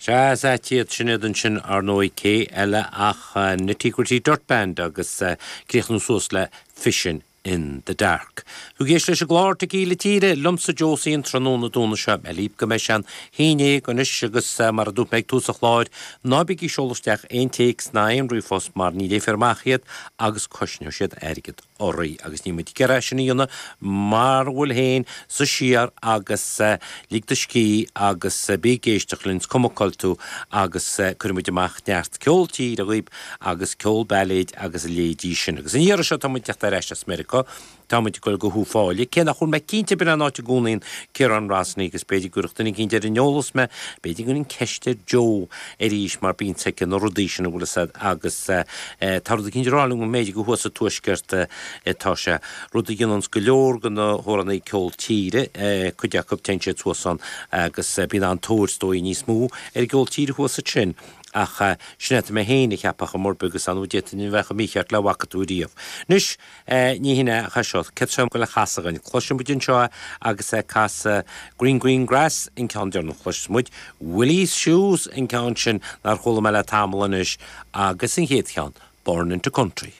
Sea, is ait iad sin iad ansin, ar ndóigh, cé eile ach Nitty Gritty Dirt Band agus críochnú suas le Fishin' in the Dark. Tú ag éisteacht leis an gclár Tequila Tíre, liomsa Josie an tráthnóna Domhnaigh seo. Mé ag líop go mbeidh sé an haon dhéag anois agus mar a dúirt mé ag tús an chláir, ná bígí ag seoladh isteach aon téacs ná aon ríomhphost mar ní léifear amach iad agus cosnóidh siad airgead. oraibh agus níl muid ag iarraidh sin a dhéanamh mara bhfuil féin suigh siar agus lig do scíth agus bí ag éisteacht linn, is cuma cá bhfuil tú agus cuirfidh muid amach neart ceol tíre dhaoib agus ceol bailéid agus a leithéidí sin. Agus an iarraidh seo tá muid ag teacht ar ais as Meiriceá, tá muid ag dul go hUíbh Fhailí, cé nach bhfuil mé cinnte b'in an áit a gcónaíonn Ciarán Rosney agus b'fhéidir go gcuirfeadh duine eicínt ar an eolas mé, b'fhéidir go gcuirfinn ceist ar Joe arís mar bíonn aici na rudaí sin an bhfuil fhios a'd agus tá rud eicínt ag rá liom go mb'fhéidir gur thuas sa tuaisceart atá sé, rud a dhéananns go leor de na hamhránaí ceol tíre, cuid acu, téann siad suas ann agus bíonn an-tóir is dóigh níos mó ar an gceol tíre thuas ansin ach sin é atá mé féin a cheapadh chor ar bith agus ar ndóigh d'fhéadfainn a bheith chomh mícheart le a bhfaca tú riamh. Anois. Ní hin é ach é seo, céard atá le casadh againn? Cloisfidh muid anseo é agus é ag casadh Green Green Grass, an ceann deireanach. Cloisfidh muid Willie's Shoes, an ceann sin nár chuala mé le tamall anois, agus an chéad cheann, Born Into Country.